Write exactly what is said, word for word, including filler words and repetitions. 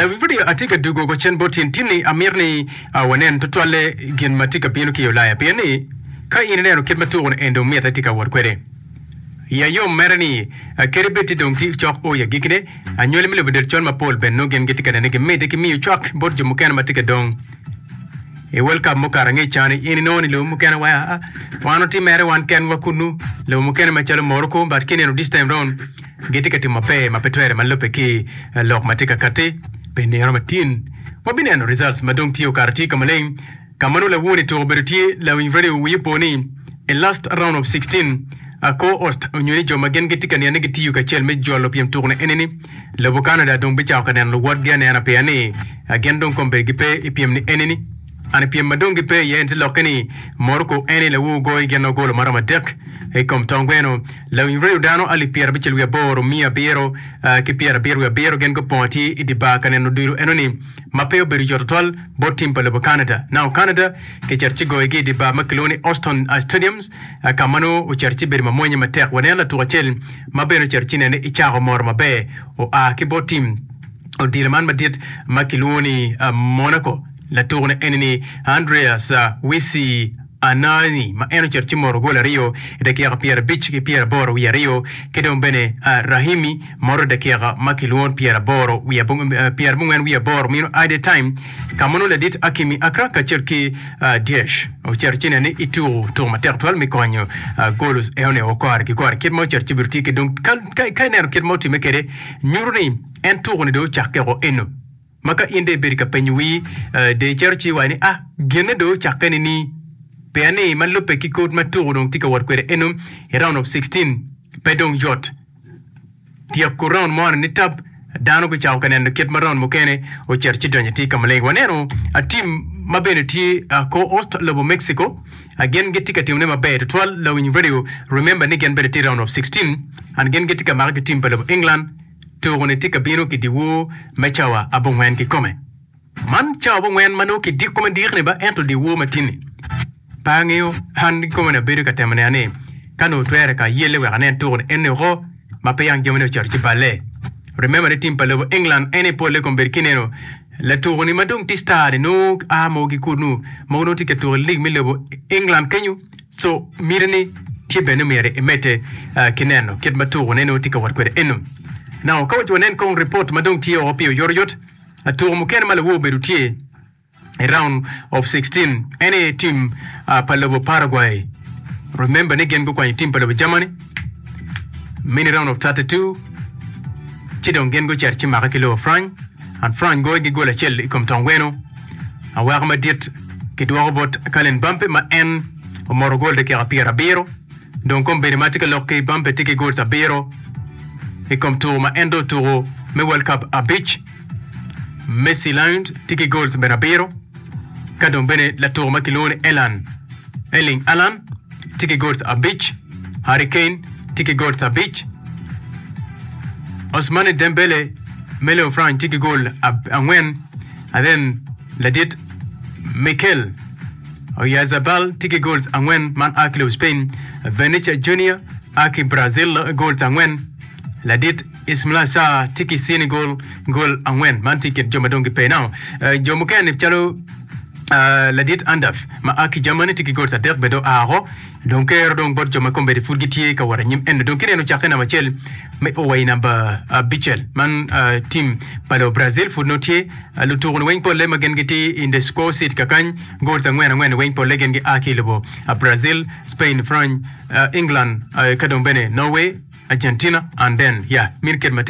Lawiny radio atye ka dugo ko cen bot tin tinni amito ni uh, wanen tutwalle gin ma tye ka bino ki i Ulaya pien ni ka in ineno kit ma tuko ni en dong mitte tye ka wot kwede ya yom mere ni uh, kadi bed ti dong ti cok o ya gikine anywali me lobo del col mapol bene nongo gin gitye ka nene gimedde ki miyo cwak bot jo mukene ma tye ka dong i World Cup mukato angec cani in inongo ni lobo mukene wa ah, wan oti mere wan kenwa kunu lobo mukene macalo Morocco but kineno this time round gitye ka timo maber ma pe twere ma lubbe ki eh, lok ma tye ka kati pi nino matin wabineno results ma dong tye okato tye ka maleng ka ma nongo lawoni tuko obedo tye lawiny radio wiye po ni i last round of sixteen uh, co-host onyo ni jo ma gin gitye ka neno ni gitiyo kacel me jolo pyem tuko ni enini lobo Canada dong bicako ka neno luwotgi anena pia ni uh, gin dong kombeddi gipe i pyem ni enini an i pyem ma dong gipe iye en tye lokke ni Morocco eni lawu goyi gin ogolo maromo adek i kom tong gweno lawiny radio dano alip pyera abicel wiye aboro miya abiro uh, ki pyera abiro wiye abiro gin gupongo tye i di bar ka neno odilo enoni ma pe obedo yot tutwal bot tim pa lobo Canada. Now Canada kicito ci goyogi i di bar ma kilwongo ni Austin uh, Stadiums uh, ka ma nongo ocito ci bedo mamwonya matek waneno latuko acel ma bene ocito ci nene i cako moro maber oa ki bot tim odilo man madit ma kilwongo ni uh, Monaco latuko ni eni ni Andreas uh, Wisi Anani ma en ocito ci moro gol aryo i dakika pyera abic ki pyera aboro wiye aryo ki dong bene uh, Rahimi moro dakika ma kilwongo pyera aboro wiye uh, pyera abongwen wiye aboro mino added time ka ma nongo ladit Hakimi Akra kacel ki uh, Diesh ocito ci nene i tuko tuko matek twal me konyo uh, gol enoni okore ki kore kit ma ocito ci bedo tye ki dong ka, ka, ka ineno kit ma otime kwede nyuto ni en tuko ni dong ocakke o eno ma ka in dong ibedo ka penyo wii uh, de icito ci iwaco ni ah ginne dong ocakke ni ni pien ni ma lubbe ki kod ma tuko dong tye ka wot kwede eno i round of sixteen pe dong yot tyeko round mo ni tab dano gucako ka neno kit ma round mukene ocito ci donyo tye ka maleng waneno a team ma bene tye uh, co-host lobo Mexico uh, gin gitye ka timone maber tutwal lawiny radio remember ni gin bene tye round of sixteen and gin gitye ka make ki team pa lobo England tuko ni tye ka bino ki diwor me cawa abongwen kikome man cawa abongwen ma nongo kidiko madikni ba ento diwor matini pe angeyo an kikome ni abedo ka temo neno ni ka nongo twere ka yelle wek anen tuko ni eni oko ma pe yang jamine ocito ci balle remember ni team pa lobo England eni polle kombeddi kineno latuko ni ma dong tye star ni nongo a mogo ki kunu mogo nongo tye ka tuko i league me lobo England kenyo so miti ni tye bene myero imedde uh, ki neno kit ma tuko ne nongo tye ka wot kwede eno now ka waci wanen kong report ma dong tye oko pi oyotoyot tuko mukene ma lawor obedo tye i round of sixteen en aye team uh, pa lobo Paraguay remember ni gin gukwanyo team pa lobo Germany mini round of thirty-two ci dong gin gucito ci make ki lobo France and France goyo gi gol acel i kom tong gweno awaka madit kidwoko bot Kylian Mbappe ma en omoro gol dakika pyera abiro dong kombeddi ma tye ka lok ki Mbappe tye ki goals abiro i kom tuko ma en dong otuko me World Cup abic Messi Lions tye ki goals bene abiro ka dong bene latuko ma kilwongo ni Elan Erling Haaland tye ki goals abic Harry Kane tye ki goals abic Ousmane Dembele me lobo France tye ki goal ab- angwen and then ladit Mikel Oyarzabal tye ki goals angwen man a ki lobo Spain Vinicius Junior a ki Brazil goals angwen ladit Ismaila Sarr tye ki Senegal goal angwen man tye i kin jo ma dong gipe now uh, jo mukene calo uh, ladit Andaf ma a ki Germany tye ki goals adek bene dong aako dong kero dong bot jo ma kombeddi pud gitye ka wot anyim eno dong kineno cakke namba acel me o wa i namba abicel man uh, team pa lobo Brazil pud nongo tye uh, lutuko ni weng polle ma gin gitye in the score sheet kakany goals angwen angwen weng polle gin gia ki i lobo uh, Brazil Spain France uh, England uh, ka dong bene Norway Argentina and then yeah min kit ma tye